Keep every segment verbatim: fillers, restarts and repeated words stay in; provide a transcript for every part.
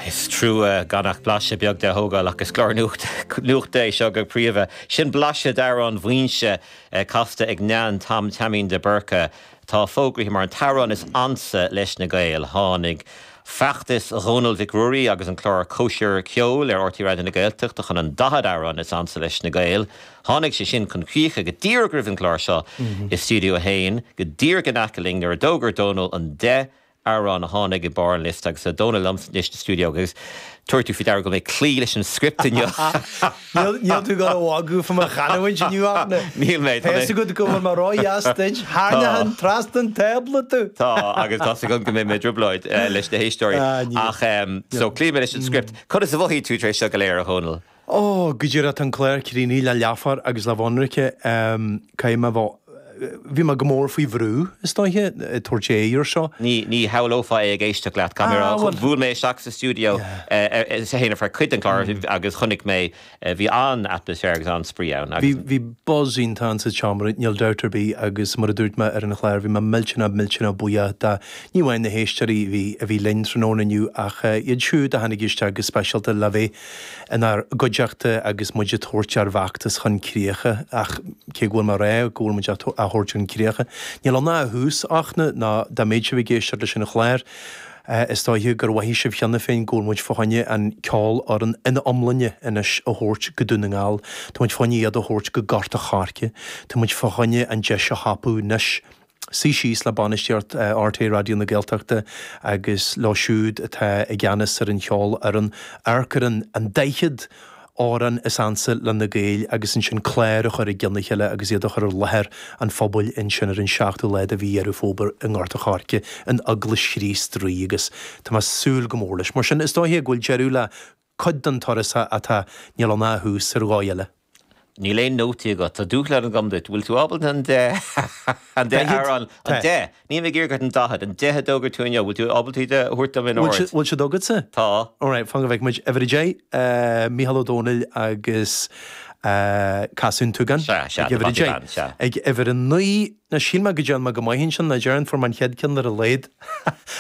Is trua gan ach blaiseadh beag de a thógáil agus clár nuachta é seo go príomha. Sin blaiseadh d'amhrán Mhaínse casta ag Nan Tom Taimín de Búrca. Tá fógraithe mar an t-amhrán is ansa leis na Gaeil. Tháinig feachtas Dhónaill Mhic Ruairí agus an clár Cóisir Ceoil ar R T Raidió na Gaeltachta chun an daichead amhrán is ansa leis na Gaeil. Tháinig sé sin chun críche go díreach roimh an chlár seo i Stiúideo a haon, go díreach in aice linn nuair a d'fhógair Dónal an deich amhrán a tháinig i barr an liosta agus tá Dónal liom anois sa stiúideo agus tabharfaidh tú faoi deara go mbeidh cloí leis an script inniu. Níl tú ag gabháil a mhagadh fá mo chanúint inniu Aifne. Níl mé. Tá fhios agat go bhfuil mé ródheas duit. Tharraingeoinn trasna an tábla tú. Tá agus tá 's agam go mbeidh mé i dtrioblóid leis na héisteoirí. Ach so cloífidh mé leis an script. Conas a mhothaigh tú tar éis seo go léir, a Dhónaill? Ó, go díreach tá an clár críochnaithe le leathuair agus le bhionraice. Caithfidh mé a bheith Bhí mé go mór faoi bhrú, is dóiche, ag tabhairt aghaidh air seo. Ní, ní shamhlófá é ag éisteacht leat, caithfidh mé a rá. Bhuail mé isteach sa stiúideo sa haon ar feadh cuid den chlár agus chonaic mé, bhí an-atmaisféar agus an-spraoi ann agus. Bhí, bhí buzz iontach ann sa tseomra, níl dabht ar bith, agus mar a dúirt mé ar an chlár, bhí mé millteanach, millteanach buíoch de, ní amháin na héisteoirí a bhí, a bhí linn tráthnóna inniu ach iad siúd a tháinig isteach go speisialta le bheith inár gcuideachta agus muid ag tabhairt ár bhfeachtas chun críocha ach cé go bhfuil mé ag rá go bhfuil muid á thabhairt chun críocha, níl ann ach a thús Fhachtna ná dá mbeadh sibh ag éisteacht leis an chlár is dóiche gur mhothaigh sibh cheana féin go bhfuil muid fá choinne an ceolfhoireann ina iomláine anois a thabhairt go Dún na nGall. Tá muid fá choinne iad a thabhairt go Gort a' Choirce. Tá muid fá choinne an deis a thapú anois. suí síos le bainistíocht R T É Raidió na Gaeltachta agus leo siúd atá i gceannas ar an cheolfhoireann, amharc ar an daichead amhrán is ansa le na Gaeil agus ansin clár a chur i gcionn a chéile agus iad a chur i láthair an phobail ansin ar an seachtú lá de mhí Dheireadh Fómhair i nGort a' Choirce in Eaglais Chríost Rí agus tá mé ag súil go mór leis. Mar sin, is dóiche go bhfuil deireadh le cuid den turas atá, níl ann ach a thús ar dhóigh eile. Níl aon nótaí agat. Tá dúshlán agam duit. Bhfuil tú ábalta an deich, an deich amhrán, an deich, níl mé ag iarraidh ort an daichead, an deich a d'fhógair tú inniu, bhfuil tú ábalta iad a thabhairt dom in ord? Bhfuil siad agatsa? Tá. Alright, fan go bhfeicfidh muid. Uimhir a deich, Mícheál Ó Domhnaill agus Casadh an tSúgáin. Sea, sea, Ag uimhir a deich. Sea. Ag uimhir a naoi, ná shíl mé go dtearn mé go maith ansin, ná déarfainn fuair mé an chéad ceann ar a laghad.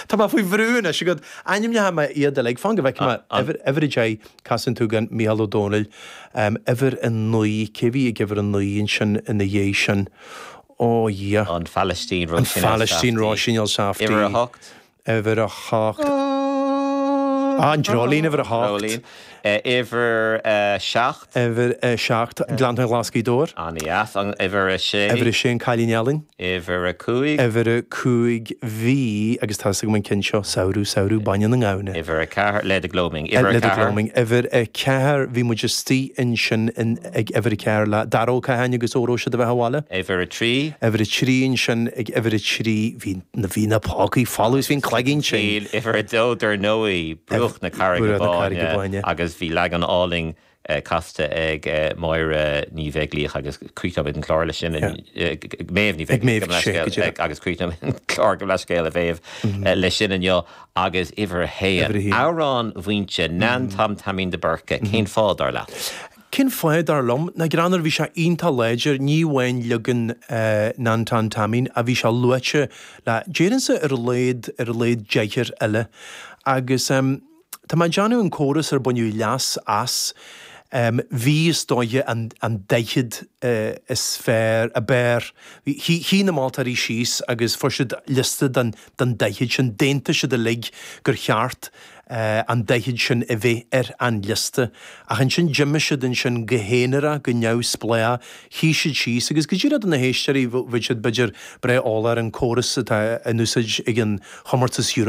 Tá mé faoi bhrú anois agat. Ainmneoidh mé iad uilig, fan go bhfeicfidh mé. Uimhir, uimhir a deich, Casadh an tSúgáin, Mícheál Ó Domhnaill. Uimhir a naoi, cé a bhí ag uimhir a naoi ansin ina dhiaidh sin? Ó, a Dhia. An Phalaistín, An Phalaistín, Róisín Elsafty. Uimhir a hocht. Uimhir a hocht. Ah, an Dreoilín, uimhir a hocht. Dreoilín. Uimhir a seacht. Uimhir a seacht, Gleanntáin Ghlas Ghaoth Dobhair. An-dheas. Uimhir a sé. Uimhir a sé, An Cailín Álainn. Uimhir a cúig. Uimhir a cúig, bhí, agus tá 'fhios agam an ceann seo, Samhradh, Samhradh, Bainne na nGamhna. Uimhir a ceathair, Leaid i Gloaming. Uimhir a Leaid i ceathair. Gloaming. Uimhir a ceathair, bhí muid istigh ansin in, ag uimhir a ceathair le Dara Ó Catháin agus Óró Sé do Bheatha 'Bhaile. Uimhir a trí. Uimhir a trí ansin, ag uimhir a trí, bhí, bhí na pócaí folamh is bhí an cloigeann tinn. Uimhir a dó, dar ndóigh, Bruach na Carraige Bruach na Carraige Báine Báine. agus bhí leagan álainn casta ag Máire Ní Bheaglaoich agus críochnóimid an clár leis sin, Méabh Ní Bheaglaoich agus críochnóimid an clár gabh mo leithscéal a Mhéabh leis sin inniu agus uimhir a haon, Amhrán Mhaínse, Nan Tom Taimín de Búrca, cén fáth dar leat? Cén fáth dar liom? Ná greannmhar, bhí sé iontach láidir, ní amháin leagan Nan Tom Taimín ach bhí sé luaite le, déarfainnse ar a laghad, ar a laghad deichniúr eile agus tá mé ag déanamh an córas ar baineadh leas as, bhí is dóiche an an daichead is fearr, ab fhearr, shuigh na moltóirí síos agus fuair siad liosta den den daichead sin, d'aontaigh siad uilig gur cheart an daichead sin a bheith ar an liosta. Ach ansin d'imigh siad ansin go haonarach, go neamhspleách, shuigh siad síos agus go díreach do na héisteoirí, bheadh siad b'fhéidir breá eolach ar an córas atá in úsáid ag an chomórtas Eurovision.